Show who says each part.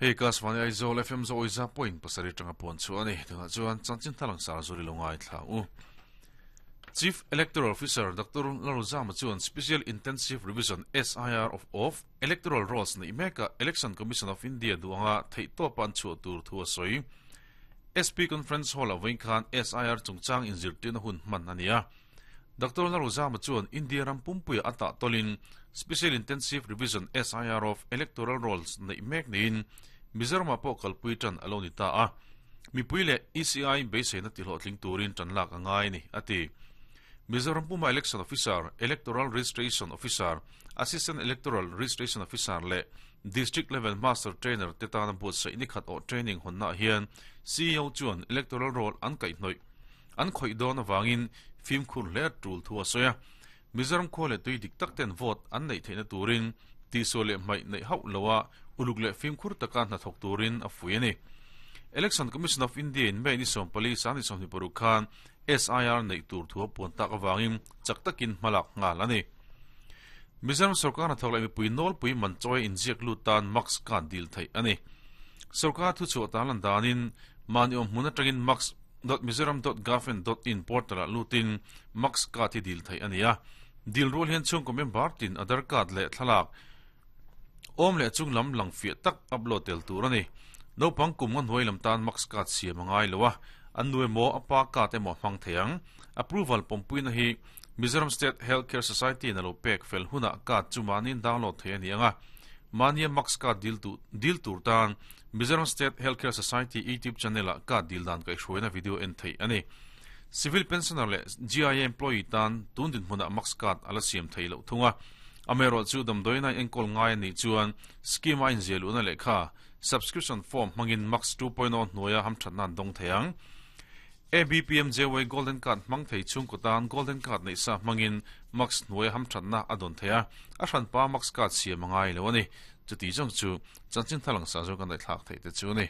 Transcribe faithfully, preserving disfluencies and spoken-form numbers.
Speaker 1: Hei Akashvani Aizawl F M zo oiza point pasari tanga pon chu ani tunga chuan chanchin thalang sar zuri longai thla u. Chief Electoral Officer Doctor Lalrozama chuan Special Intensive Revision S I R of of Electoral Rolls nei meka Election Commission of India duanga theito pan chu tur thu a soi. S P Conference Hall a khan S I R chungchang in zirtirna hun hman ania. Doctor Lalrozama chuan India ram pumpuia ata tolin Special Intensive Revision S I R of Electoral Rolls nei mek niin Mizoram pawh kalpui tan alo ni ta a. Mipui le E C I beiseina ti hlawhtling turin tan lak angai ni ati. Mizoram Puma Election Officer, Electoral Registration Officer, Assistant Electoral Registration Officer le District Level Master Trainer te tana buat sai ni khat o training honna hian C E O chuan electoral roll an kai hnoi an khoi don awangin fim khur le tul thua soya. Mizoram khole tui dik tak ten vote an nei theina turin ti so le mai nei hau lowa uluk le fim khur taka na thok turin a fui ani. Election Commission of India in May ni som pali sang ni som ni paruk khan S I R nei tur thua pon tak awangin chak takin malak ngal ani. Mizoram sarkar na thok lai mi pui nol pui man choi in ziak lu tan max kan dil thai ani. Sarkar thu chu tan lan danin mani om hmuna tangin max dot mizoram dot government dot in portal a lutin max ka thi dil thai ania. Dil rul hian chung ko member tin Aadhaar card le thlalak om le chung lam lang fi tak upload tel tur ani. Naupang kum ngan hoi lam tan max card siam angai lowa, an nuai mo apa ka te mo hmang theiang. Approval pompui na hi Mizoram State Healthcare Society na lo pek fel huna card chu manin download thei ani anga. Mania max card dil tu dil tur tan Mizoram State Healthcare Society YouTube channel a card dil dan kai hruaina video en thei ani. Civil pensioner le G I A employee tan tun din hmuna max card ala siam thei lo thunga. Amero chu damdoina enkol ngai ni chuan scheme a in zelu na lekha subscription form mangin max two point zero hnuaia hamthat nan dong theiang. A B P M J Y Golden Card mang thei chung ko tan Golden Card nei sa mangin max hnuaia hamthat na adon theia a hran pa max card siam angai lo ani. Chuti jong chu chanchin thalang sa zo kan dai thlak thei te chu ni.